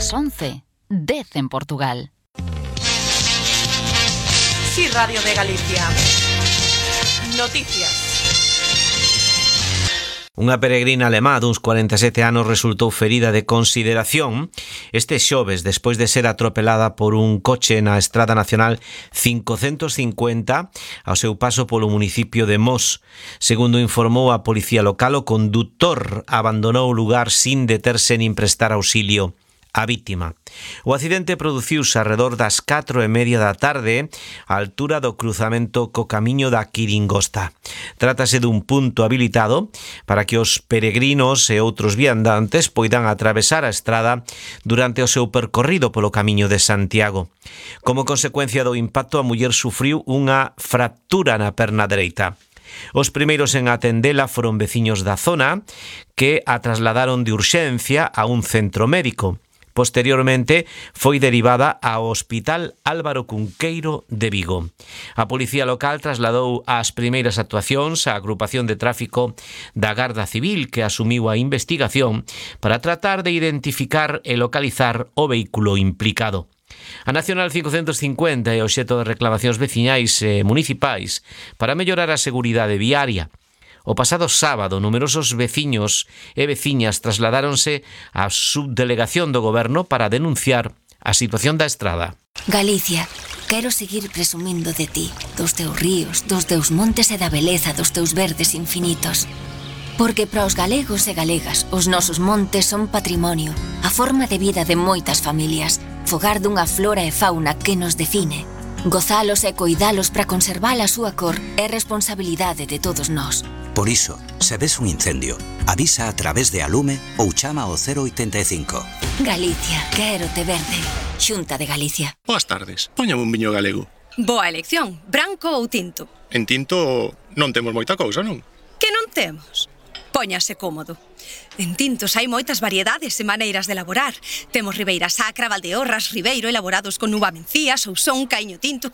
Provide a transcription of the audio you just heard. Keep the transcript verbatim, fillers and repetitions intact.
As once, dez en Portugal. Sí, Radio de Galicia. Noticias. Unha peregrina alemá duns cuarenta e sete anos resultou ferida de consideración este xoves despois de ser atropelada por un coche na Estrada Nacional cincocentos cincuenta ao seu paso polo municipio de Mos. Segundo informou a policía local, o condutor abandonou o lugar sin deterse nin prestar auxilio a vítima. O accidente produciuse arredor das catro e media da tarde á altura do cruzamento co camiño da Quiringosta. Trátase dun punto habilitado para que os peregrinos e outros viandantes poidan atravesar a estrada durante o seu percorrido polo camiño de Santiago. Como consecuencia do impacto, a muller sufriu unha fractura na perna dereita. Os primeiros en atendela foron veciños da zona que a trasladaron de urxencia a un centro médico. Posteriormente foi derivada ao Hospital Álvaro Cunqueiro de Vigo. A policía local trasladou as primeiras actuacións á agrupación de tráfico da Garda Civil, que asumiu a investigación para tratar de identificar e localizar o vehículo implicado. A Nacional cincocentos cincuenta é obxecto de reclamacións veciñais e municipais para mellorar a seguridade viaria. O pasado sábado, numerosos veciños e veciñas trasladáronse á subdelegación do goberno para denunciar a situación da estrada. Galicia, quero seguir presumindo de ti, dos teus ríos, dos teus montes e da beleza dos teus verdes infinitos. Porque para os galegos e galegas, os nosos montes son patrimonio, a forma de vida de moitas familias, fogar dunha flora e fauna que nos define. Gozalos e coidalos para conservar a súa cor é responsabilidade de todos nós. Por iso, se ves un incendio, avisa a través de Alume ou chama ao cero oitenta e cinco. Galicia, quero te verde. Xunta de Galicia. Boas tardes, póñame un viño galego. Boa elección, branco ou tinto? En tinto non temos moita cousa, non? Que non temos? Póñase cómodo. En tintos hai moitas variedades e maneiras de elaborar. Temos Ribeira Sacra, Valdeorras, Ribeiro, elaborados con uva mencía, sousón, caíño tinto, caíño